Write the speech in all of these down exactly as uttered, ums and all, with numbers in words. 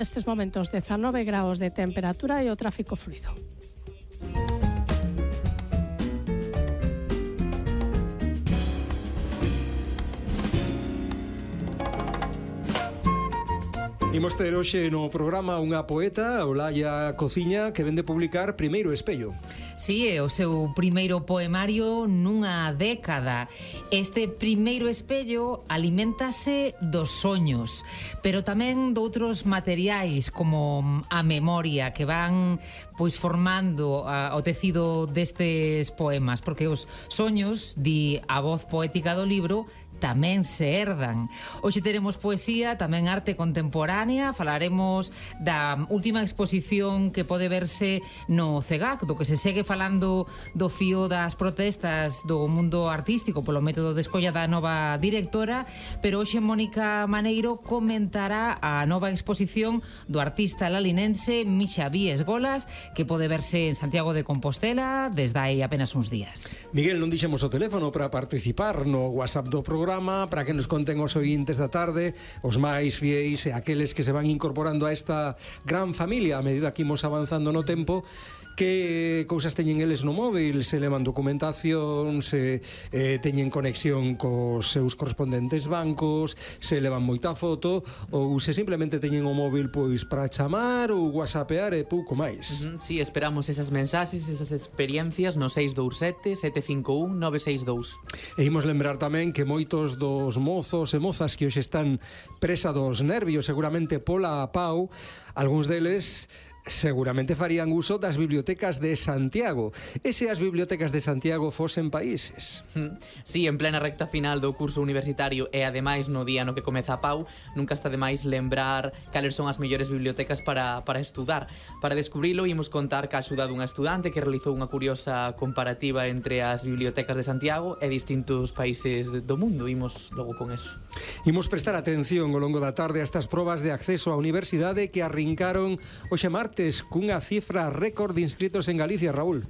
Nestes momentos dezanove graos de temperatura e o tráfico fluido. Imos ter hoxe no programa unha poeta, Olaya Cociña, que vende publicar Primeiro Espello. Si, é o seu primeiro poemario nunha década. Este Primeiro Espello aliméntase dos soños, pero tamén doutros materiais como a memoria que van pois formando a, o tecido destes poemas, porque os soños, di a voz poética do libro, tamén se herdan. Hoxe teremos poesía, tamén arte contemporánea, falaremos da última exposición que pode verse no CEGAC, do que se segue falando do fío das protestas do mundo artístico polo método de escolla da nova directora, pero hoxe Mónica Maneiro comentará a nova exposición do artista lalinense Misha Víes Golas, que pode verse en Santiago de Compostela desde aí apenas uns días. Miguel, non dixemos o teléfono para participar no WhatsApp do programa, para que nos conten os ointes da tarde, os máis fieis e aqueles que se van incorporando a esta gran familia a medida que imos avanzando no tempo. Que cousas teñen eles no móvil, se levan documentación, se eh, teñen conexión cos seus correspondentes bancos, se levan moita foto, ou se simplemente teñen o móvil pois para chamar ou whatsappear e pouco máis. Uh-huh, sí, esperamos esas mensaxes, esas experiencias no seis dous sete, sete cinco un, nove seis dous. E imos lembrar tamén que moitos dos mozos e mozas que hoxe están presa dos nervios, seguramente pola pau, algúns deles seguramente farían uso das bibliotecas de Santiago. E se as bibliotecas de Santiago fosen países? Sí, en plena recta final do curso universitario e ademais no día no que comeza a pau, nunca está de máis lembrar cales son as mellores bibliotecas para, para estudar. Para descubrilo, imos contar ca axuda dunha estudante que realizou unha curiosa comparativa entre as bibliotecas de Santiago e distintos países do mundo. Imos logo con eso. Imos prestar atención ao longo da tarde a estas probas de acceso á universidade que arrincaron hoxe martes cunha cifra récord de inscritos en Galicia, Raúl.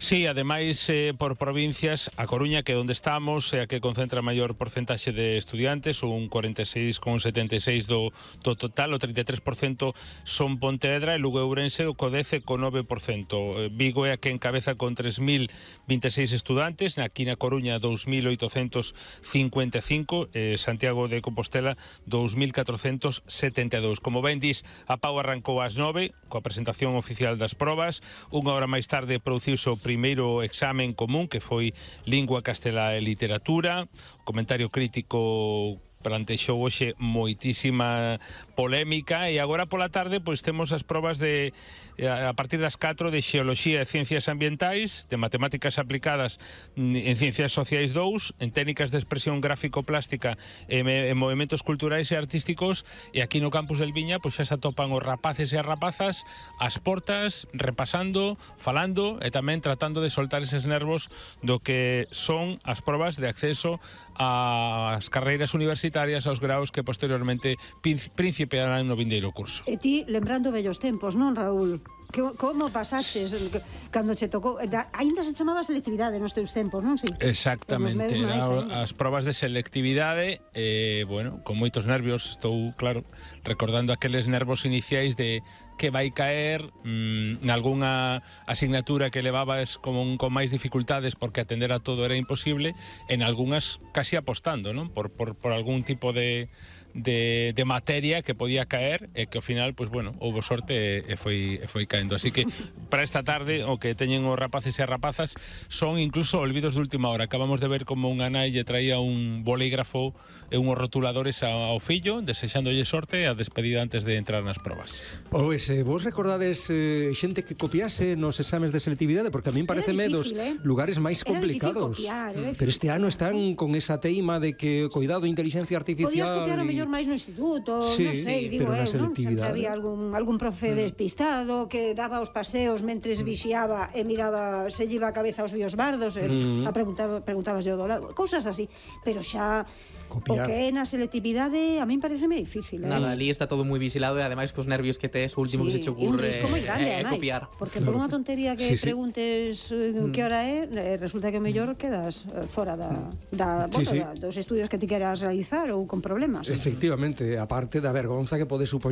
Sí, ademais eh, por provincias, a Coruña, que é onde estamos, é a que concentra a maior porcentaxe de estudiantes, un cuarenta e seis coma setenta e seis do, do total, o trinta e tres por cento son Pontevedra e Lugo e Ourense co dez coma nove por cento. Vigo é a que encabeza con tres mil vinte e seis estudantes, aquí na Coruña dous mil oitocentos cincuenta e cinco, eh, Santiago de Compostela dous mil catrocentos setenta e dous. Como ben dis, a pau arrancou ás nove coa presentación oficial das probas, unha hora máis tarde produciuse o primeiro examen común, que foi Lingua Castelá e Literatura. O comentario crítico plantexou hoxe moitísima polémica e agora pola tarde pois temos as probas de a partir das catro de Xeoloxía e Ciencias Ambientais, de Matemáticas Aplicadas en Ciencias Sociais dous, en Técnicas de Expresión Gráfico-Plástica e en Movimentos Culturais e Artísticos, e aquí no campus del Viña pois xa se atopan os rapaces e as rapazas ás portas, repasando, falando e tamén tratando de soltar eses nervos do que son as probas de acceso ás carreiras universitarias, aos graus que posteriormente principiarán no vindeiro curso. E ti, lembrando vellos tempos, non, Raúl? Que, como pasaches cando che tocou? Ainda se chamaba selectividade nos teus tempos, non? Sí. Exactamente, era, as probas de selectividade, eh, bueno, con moitos nervios, estou, claro, recordando aqueles nervos iniciais de que vai caer mmm, nalgúnha asignatura que levabas como un, con máis dificultades porque atender a todo era imposible, en algunhas casi apostando, non? Por, por, por algún tipo de De, de materia que podía caer e que ao final, pois bueno, houbo sorte e, e foi, e foi caendo. Así que para esta tarde o que teñen os rapaces e as rapazas son incluso olvidos de última hora. Acabamos de ver como unha nai lle traía un bolígrafo e unhos rotuladores ao fillo, desexándolle sorte e a despedida antes de entrar nas probas. Pois, eh, vos recordades eh, xente que copiase nos exames de selectividade? Porque a min pareceme dos eh? lugares máis complicados. Copiar, eh? Pero este ano están con esa teima de que, cuidado, inteligencia artificial... Podías copiar o mellor máis no instituto, sí, non sei, sí, digo eu, non? Sempre había algún, algún profe mm. despistado que daba os paseos mentres mm. vixiaba e miraba, se lleva a cabeza aos biosbardos e mm. a preguntaba, preguntabas yo do lado, cousas así, pero xa copiar. O que é na selectividade a min pareceme difícil, eh? Nada, ali está todo moi vigilado e ademais cos nervios que tes, o último sí, que se che ocurre é eh, copiar. Porque claro. Por unha tontería que sí, preguntes sí. que hora é, resulta que mellor quedas fora da, da, sí, bueno, sí. da dos estudios que ti queras realizar ou con problemas. Efectivamente, aparte da vergonza que pode supoñer